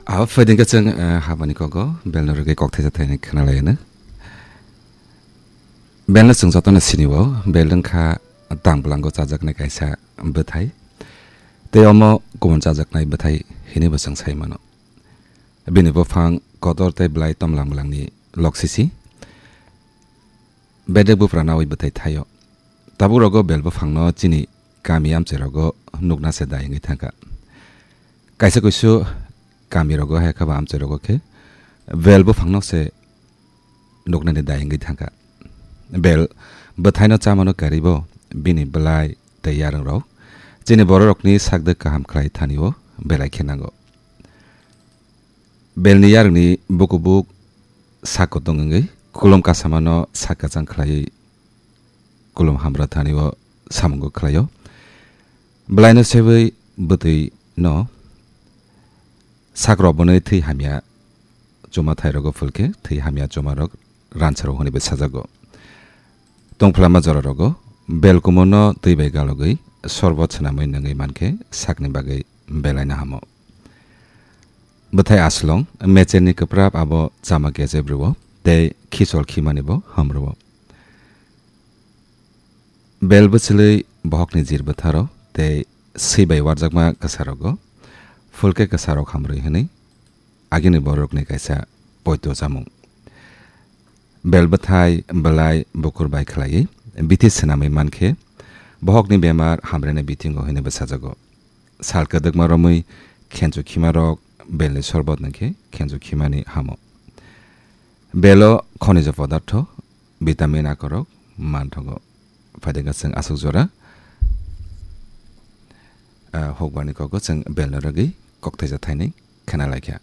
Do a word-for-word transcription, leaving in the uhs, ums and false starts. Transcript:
Abo phaidengkhe chwng, eh, habani kogo belno rwgwi kok thaisa thaini khwnalaiyano. Belno chwng jotono sinio, bel wngkha tang bwlango chajaknai kaisa bwthai. Tei omo kubun chajaknai bwthai hinwibo chwng sai mano. Bini buphang kotor tei bwlai tomlang bwlangni loksisi. Bedek buphra nawi bwthai thaio. Tabuk rogo bel buphangno chini kami amchai rogo nukna se dai wngwi thangkha. Kaisa kuisu kami rogo hai khe ba amchai rogo khe bel buphangno se nuknani dai wngwi thangkha. Bel bwthaino chamano karibo bini bwlai tei yarwng rok chini bororokni sakdwk kaham khlai thanio belai khe nango. Belni yarwngni bukubuk sak kutung wngwi kulum kasamano sak kwchang khlaiwi kulum hamra thanio samungo khlaio. Bwlaino sewi bwtwi no sak rok bwnwi thwi hamya chuma thai rogo phulkhe thwi hamya chuma rok ransaro hwnwi bo sajago. Tongphlama jora rogo bel kumono twi bai galogwi sorbot swnamwi nangwi mankhe sakni bagwi belaino hamo. Bwthai aslong mecherni kwprap abo chama kechep rwo tei khichol khimani bo ham rwo. Bel bwchwlwi bohokni jir bwtharo tei swi bai warjakma kwsarogo phulkhe kwsarok hamrwi hwnwi agini borokni kaisa poito chamung. Bel bwthai, bwlai, bukur bai khlaiwi bithi swnamwi mankhe bohokni bemar hamrwna bithingo hwnwi bwsajago. Sal kwdwkma romwi khenchu khimarok belni sorbot nangkhe khenchu khimani hamo. Belo khonija podartho, vitamin akorok manthogo. Phaidengkha chwng aswk jora, ah, hokbarni kogo chwng belno rwgwi kokthaisa thaini khwnalaikha.